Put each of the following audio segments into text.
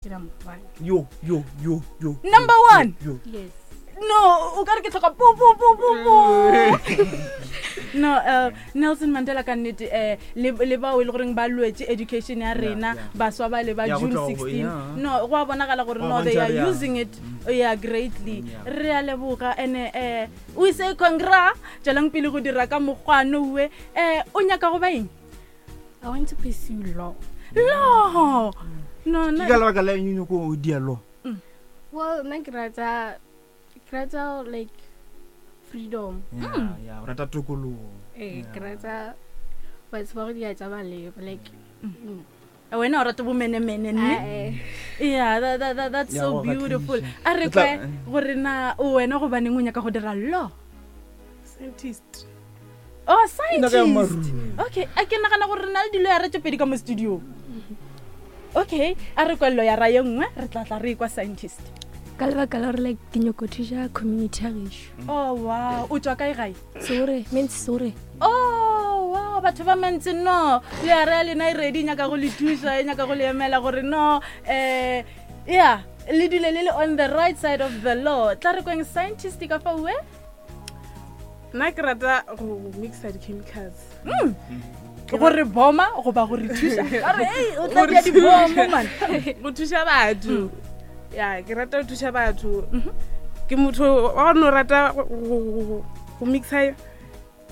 Ke number one. Yo, yo, yo, yo. Number one? Yo. Yes. No, o ka re ke tlhoka po po po po po. No, Nelson Mandela ka nnete le le bao e le goreng ba lwetse education ya rena, baswa ba le ba Yeah, go June tloga go- 16. yeah. No, go a bonagala gore Go a no they bontšha are re ya. using it yeah greatly. Yeah. Re a leboga ene we say congra, tswelang pele go dira ka mokgwano we. O nyaka go ba eng? I want to pursue law. Law. No, no. Ke ka lebaka la eng o nyaka go dia law? Well, nna ke rata, ke rata like freedom. Yeah, yeah, o rata tokologo. Ke rata batho ba go dia tsa maleba, like. Wena o rata bomenemene, nne? Ah, eh. Yeah, that's Yeah, so go kgatlisa. beautiful. A re O tla- kwe gore na o wena gobaneng o nyaka go dira law? Scientist. Oh, Nna ka ya scientist. marung. Okay, a ke nagana gore re na le dilo ya re tše pedi ka mo studio. Okay, a re kwelelo ya ra ye nngwe, re tla tla re kwa scientist. Ka lebaka la gore like ke nyako thuša community ya gešo. Oh wow, o tswa kae gae? Sore, means sore. Oh wow, batho ba mentse no, le ya re ya lena e ready, e nyaka go le thuša, e nyaka go le emela gore no, yeah, le dule le le on the right side of the law. Tla re kweng scientist ka fa uwe? Nna ke rata go mixa di-chemicals. Gore boma goba gore thuša. Ba re, hey, o tla Gore dia dibomo, thuša. man. Go thuša batho. Ya, ke rata go thuša batho. Ke motho wa go no rata go mixa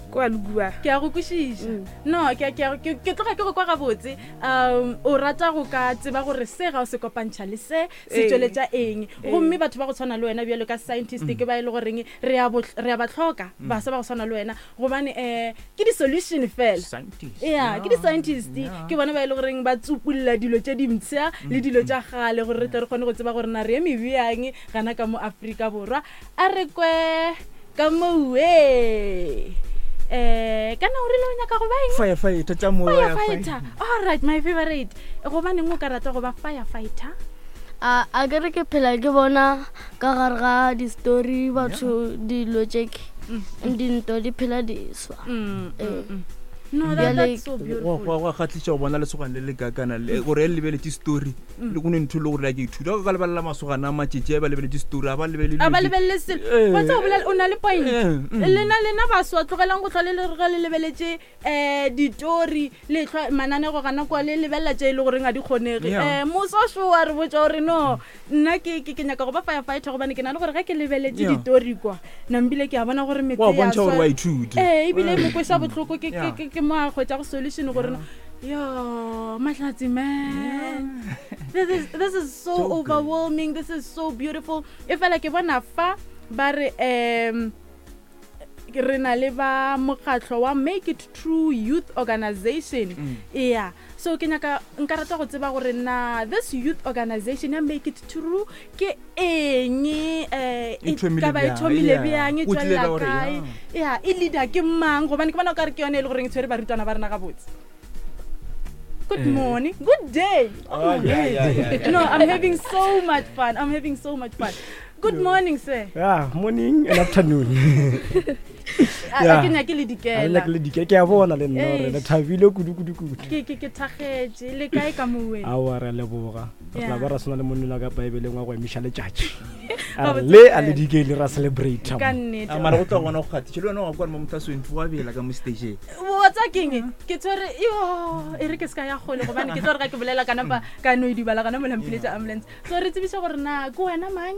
kwa le kua. Ke a go kwešiša. No, ke tloga ke go kwa gabotse. O rata go ka tseba gore se ga o se kopantšha le se, se tšweletša eng. Gomme batho ba go tshwana le wena bjalo ka scientist ke ba e le goreng re a re a ba hloka, baswa ba go tshwana le wena, gobane, ke di-solution fela. Scientist. Yeah, ke di-scientist. Ke bona ba e le goreng ba tsupulla dilo tše dimpsha le dilo tša kgale gore re tle re kgone go tseba gore na re eme bjang gana ka mo Afrika Borwa. A re kwe ka mowe. Kana o rile o nyaka go ba eng? Firefighter, tša moya, Firefighter. All right, my favorite. Gobaneng o ka rata go ba firefighter? A ke re ke phela ke bona ka gare ga di-story batho dilo tše ke, dinto di phela di swa. No, Bjale that's so beautiful. Go kgatlisa go bona lesogana le le kakana le, gore e lebeletse story, le go ne ntho e le gore a ke ithuta. Ka lebelela masogana a matšatši a ba lebeletse story, a ba lebelele A ba dilo tse- lebelele selo. Wa tseba o bolela, o na le point. Lena baswa tlogelang go hlwa le le re ge le lebeletse, ditori, le hlwa mananego gana kwa le lebelela tše e le goreng ga di kgonege. Moso šo wa re botša gore no, nna ke nyaka go ba firefighter gobane ke na le gore ge ke lebeletse ditori kwa, nambile ke a bona gore metse Wa ya bontšha gore swa. wa ithuta. Ebile e mo kweša bohloko, ke mo a hwetša go solution gore no, yo, Mahlatsi, man. This is so So great. overwhelming. This is so beautiful. E fela ke bona fa ba re, re na le ba mokgatlo wa Make It True Youth Organization. Yeah. So ke nyaka, nka rata go tseba gore na this youth organization ya Make It True ke eng, E e thomile ka ba e bjang? thomile Yeah. bjang, e O tlile tšwelela ka gore, kae? yeah. Yeah, e leader ke mang? Gobane ke bona o ka re ke yone e le goreng e tshwere barutwana ba rena gabotse. Good morning. Good day. Oh, yeah, yeah, yeah, yeah. No, I'm having so much fun. I'm having so much fun. Good morning, sir. Yeah, morning and afternoon. A Yeah. ke nyake le A le dikela. nyake le dikela. Ke a bona le nna gore Eish. le thabile kudu, kudu, kudu. Ke thakgetše. Le kae ka mo wena? Aowa, re a leboga. Re tla Yeah. ba ra swana le monna ka Bibeleng wa go emiša letšatši. A re Gabotse le a le fela. dikele ra celebrate. Ka nnete. A mara go tla gona go kgathiša. Le wena wa kwa mo motho a swentse wa bela ka mo stage-eng. Wa tseba keng? Ke tshwere, yo, e re ke se ka ya kgole gobane ke tlo re ga ke bolela ka napa ka no idibala gona mola mpiletša ambulance. So re tsebiše gore na ke wena mang,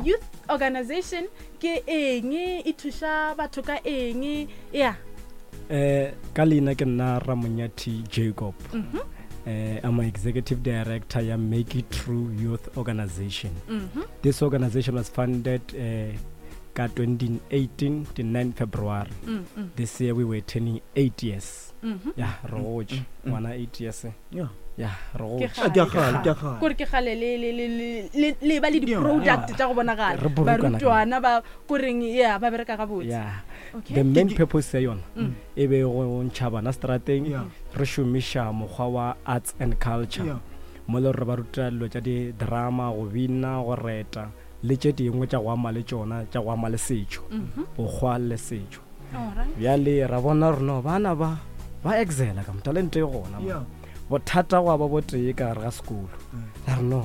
youth organization ke eng, e thuša batho ka eng? Yeah. Ka leina ke nna Ramonyathi Jacob. I'm an executive director ya Make It True Youth Organization. This organization was funded ka 2018, the 9 February. This year we were turning 8 years. Yeah, re gotše. Ngwana 8 years. Yeah. Yeah, re Ke gotše. kgale. Ke kgale, ke kgale. Kore ke kgale le ba le di-product tša go bonagala. Re bolokana ka Barutwana ba koreng, yeah, ba bereka gabotse. Yeah. Okay. The main Ke- ke- purpose ya yona e be go ntšha bana strateng, Yeah. re šomiša mokgwa wa arts and culture. Yeah. Mo le gore ba ruta dilo tša di-drama, go bina, go reta, le tše dingwe tša go ama le tšona, tša go ama le setšo, bokgwa le setšo. All right. Bjale ra bona gore no, bana ba excela ka mo, talente e gona mo. Yeah. Bothata gwa ba botee ka gare ga sekolo. La re no.